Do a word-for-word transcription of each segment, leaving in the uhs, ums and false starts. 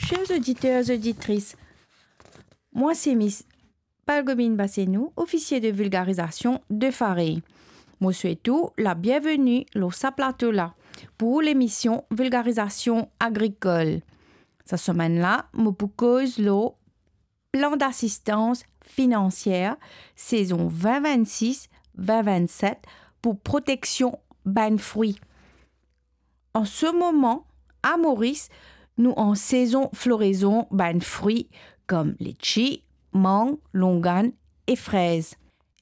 Chers auditeurs, auditrices, moi c'est Miss Palgomine Bassenou, officier de vulgarisation de Farey. Mo swet ou labienveni lor sa plato la pou lemision Vulgarizasyon Agrikol. Sa semenn la, mo pou koz lor plan d'asistans finansier sezon vin vinn-sis, vin vinn-set pou proteksion bann frwi. An se moman, a Moris, nou an sezon florezon bann frwi kom letchi, mang, longann e frez.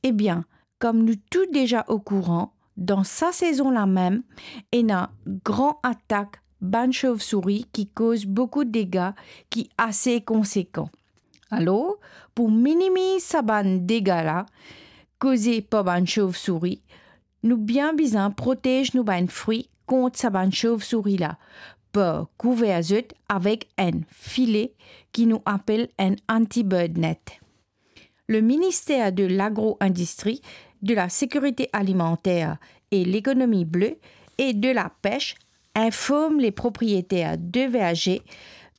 Ebien, kom nou tou deza okouran, dan sa sezon la mem, ena gran atak bann sovsouri ki koz boukou dega ki ase konsekan. Alor, pou minimiz sa bann dega la koze par bann sovsouri, nou bien bizin protez nou bann frwi kont sa bann sovsouri la, par kouver zot avek enn file ki nou apel enn anti-bird net. Le ministère de l'Agro-Industrie, de la Sécurité Alimentaire et l'Économie Bleue et de la Pêche informe les propriétaires de vergers,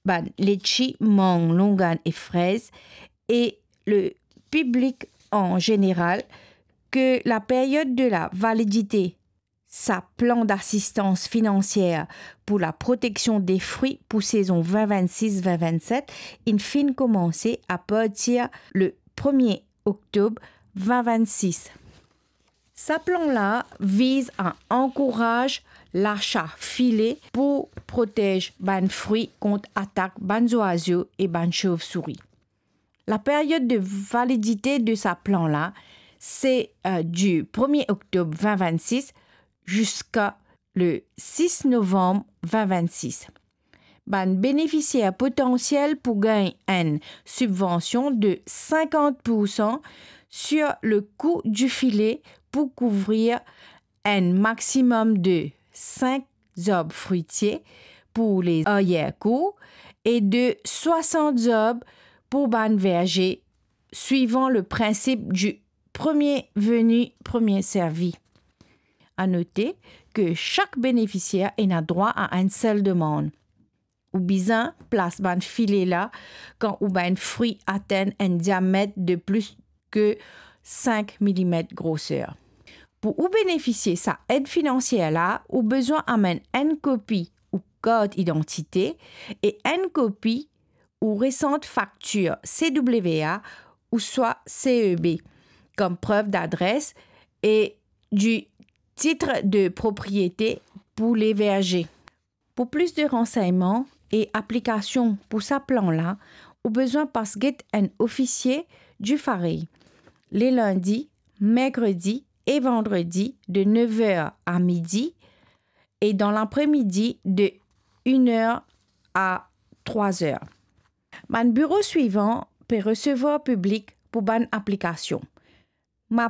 bann letchi, mang, longann e frez, e le piblik an zeneral ke la period de la validite sa plan d'asistans finansier pou la proteksion de frwi pou sezon vin vinn-sis, vin vinn-set inn finn koumanse apartir le premie oktob vin vinn-sis. Sa plan la viz a ankouraz lasa file pou protez bann frwi kont atak bann zwazo e bann sovsouri. La period de validite de sa plan la, se, euh, du premie oktob vin vinn-sis ziska le sis novanm vin vinn-sis. Bann benefisier potansiel pou gagn enn sibvansion de sinkant poursan sur le kou di file pou kouvrir enn maximum de sink zarb fritye pou le arrière-cour e de swasant zarb pou bann verze, swivan le prinsip du premier venu, premier servi. A note ke sak benefisier ena drwa a enn sel demann. Ou bizin plas bann file la kan ou bann frwi atenn enn diamet de plis ke sink milimet groser. Pou ou benefisie sa ed finansier la, ou bizin amenn enn kopi ou kart idantite e enn kopi ou resant faktir C W A ouswa C E B kom prev d'adres e du titre de propriete pou le verze. Pou plis de ransegnman e aplikasion pou sa plan la, ou bizin pas get enn ofisie du Farey le lindi, merkredi e vandredi de nev er a midi e dan lapremidi de enn er a trwa er. Bann biro swivan pe resevwar piblik pou bann aplikasion. Mo